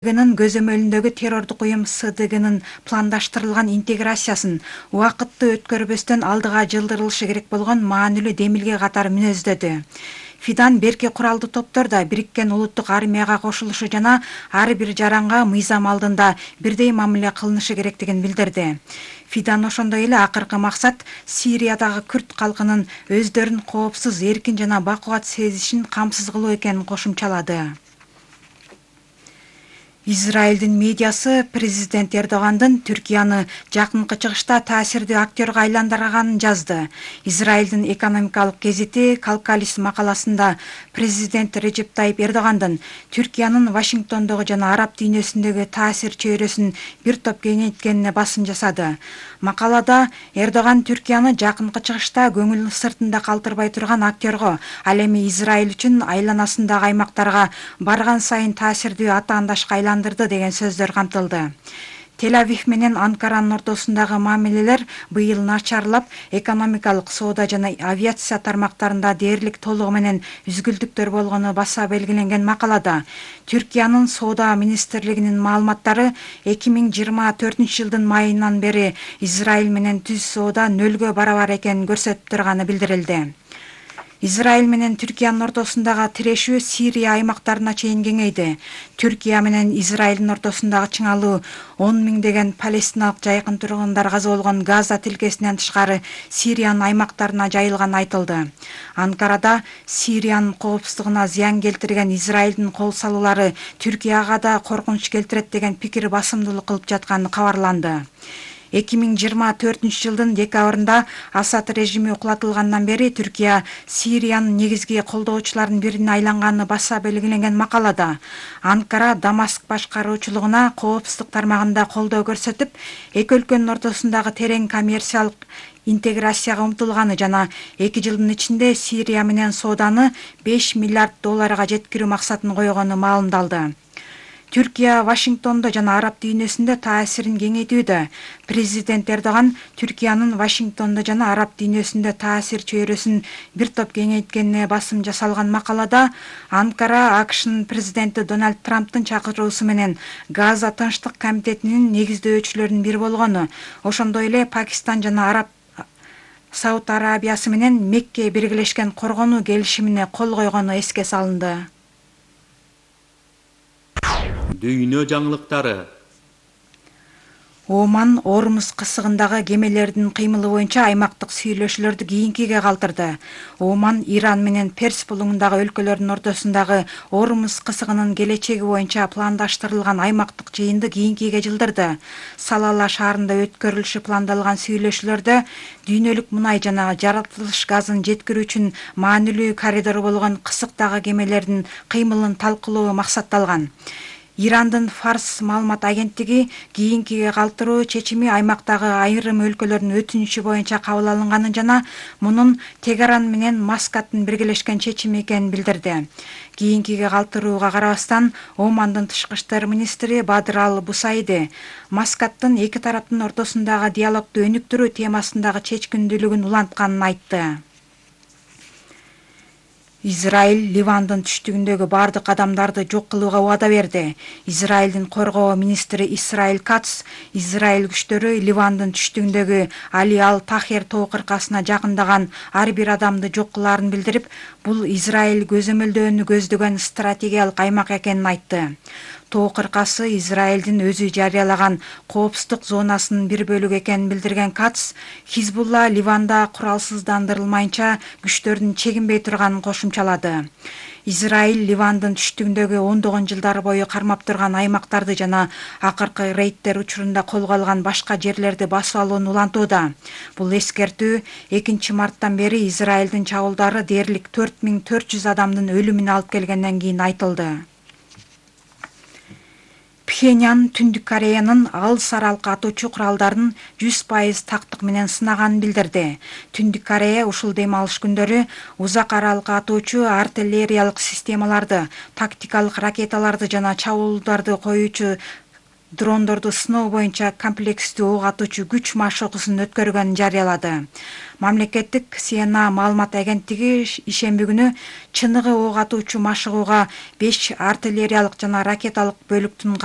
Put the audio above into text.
Көзөмөлүндөгү террордук уюм СДГнын пландаштырылган интеграциясын убакытты өткөрбөстөн алдыга жылдырылышы керек болгон маанилүү демилге катары мүнөздөдү. Фидан берки куралдуу топтор да Бириккен улуттук армияга кошулушу жана ар бир жаранга мыйзам алдында бирдей мамиле кылынышы керектигин билдирди. Фидан ошондой эле акыркы максат Сириядагы күрд калкынын өздөрүн коопсуз, эркин жана бакубат сезишин камсыз кылуу экенин кошумчалады. Израилдин медиасы президент Эрдогандын Түркияны жакынкы чыгышта таасирдүү актёрго айландырганын жазды. Израилдин экономикалык гезити Калкалис макаласында президент Режеп Тайип Эрдогандын Түркиянын Вашингтондогу жана араб дүйнөсүндөгү таасир чөйрөсүн бир топ кеңейткенине басым жасады. Макалада Эрдоган Түркияны жакынкы чыгышта көңүл сыртында калтырбай турган актёрго, ал эми Израиль үчүн айланасындагы аймактарга барган сайын таасирдүү атаандашка айландырды деген сөздөр камтылды. Тель-Авив менен Анкаранын ортосундагы мамилелер быйыл начарлап, экономикалык, соода жана авиация тармактарында дээрлик толугу менен үзгүлтүктөр болгону баса белгиленген макалада Түркиянын соода министрлигинин маалыматтары 2024-жылдын майынан бери Израиль менен түз соода нөлгө барабар экенин көрсөтүп турганы билдирилди. Израиль менен Түркиянын ортосундагы тирешүү Сирия аймактарына чейин кеңейди. Түркия менен Израилдин ортосундагы чыңалуу 10 миңдеген палестиналык жайкын тургундар каза болгон Газа тилкесинен тышкары Сириянын аймактарына жайылганы айтылды. Анкарада Сириянын коопсуздугуна зыян келтирген Израилдин кол салуулары Түркияга да коркунуч келтирет деген пикир басымдуулук кылып жатканы кабарланды. 2024-жылдын декабрында Асад режими кулатылгандан бери Түркия Сириянын негизги колдоочуларынын бирине айланганы баса белгиленген макалада Анкара Дамаск башкаруучулугуна коопсуздук тармагында колдоо көрсөтүп, эки өлкөнүн ортосундагы терең коммерциялык интеграцияга умтулганы жана 2 жылдын ичинде Сирия менен сооданы $5 миллиард жеткирүү максатын койгону маалымдалды. Түркия Вашингтондо жана араб дүйнөсүндө таасирин кеңейтүүдө. Президент Эрдоган Түркиянын Вашингтондо жана араб дүйнөсүндө таасир чөйрөсүн бир топ кеңейткенине басым жасалган макалада Анкара АКШнын президенти Дональд Трамптын чакыруусу менен Газа тынчтык комитетинин негиздөөчүлөрүнүн бири болгону, ошондой эле Пакистан жана Сауд Арабиясы менен Мекке биргелешкен коргонуу келишимине кол койгону эске салынды. Дүйнө жаңылыктары. Оман Ормуз кысыгындагы кемелердин кыймылы боюнча аймактык сүйлөшүүлөрдү кийинкиге калтырды. Оман Иран менен Перс булуңундагы өлкөлөрдүн ортосундагы Ормуз кысыгынын келечеги боюнча пландаштырылган аймактык жыйынды кийинкиге жылдырды. Салала шаарында өткөрүлүшү пландалган сүйлөшүүлөрдө дүйнөлүк мунай жана жаратылыш газын жеткирүү үчүн маанилүү коридор болгон кысыктагы кемелердин кыймылын талкуулоо максатталган. Ирандын Фарс маалымат агенттиги кийинкиге калтыруу чечими аймактагы айрым өлкөлөрдүн өтүнүчү боюнча кабыл алынганын жана мунун Тегеран менен Маскаттын биргелешкен чечими экенин билдирди. Кийинкиге калтырууга карабастан Омандын тышкы иштер министри Бадр Ал-Бусайди Маскаттын эки тараптын ортосундагы диалогду өнүктүрүү темасындагы чечкиндүүлүгүн улантканын айтты. Израиль Ливандын түштүгүндөгү бардык адамдарды жок кылууга убада берди. Израилдин коргоо министри Исраиль Кац Израиль күчтөрү Ливандын түштүгүндөгү Али Ал-Тахер тоо кыркасына жакындаган ар бир адамды жок кылаарын билдирип, бул Израиль көзөмөлдөөнү көздөгөн стратегиялык аймак экенин айтты. Тоо кыркасы Израилдин өзү жарыялаган коопсуздук зонасынын бир бөлүгү экенин билдирген Кац, Хизбулла Ливанда куралсыздандырылмайынча күчтөрдүн чегинбей турганын кошумчалады. Израиль Ливандын түштүгүндөгү ондогон жылдар бою кармап турган аймактарды жана акыркы рейдтер учурунда колго алган башка жерлерди басып алууну улантууда. Бул эскертүү 2 марттан бери Израилдин чабуулдары дээрлик 4400 адамдын өлүмүнө алып келгенден кийин айтылды. Пхеньян Түндүк Кореянын алыс аралыкка атуучу куралдарын 100% тактык менен сынаганын билдирди. Түндүк Корея ушул дем алыш күндөрү узак аралыкка атуучу артиллериялык системаларды, тактикалык ракеталарды жана чабуулдарды коюучу дрондорду сыноо боюнча комплекстүү ок атуучу күч машыгуусун өткөргөнүн жарыялады. Мамлекеттик СНА маалымат агенттиги ишемби күнү чыныгы ок атуучу машыгууга 5 артиллериялык жана ракеталык бөлүктүн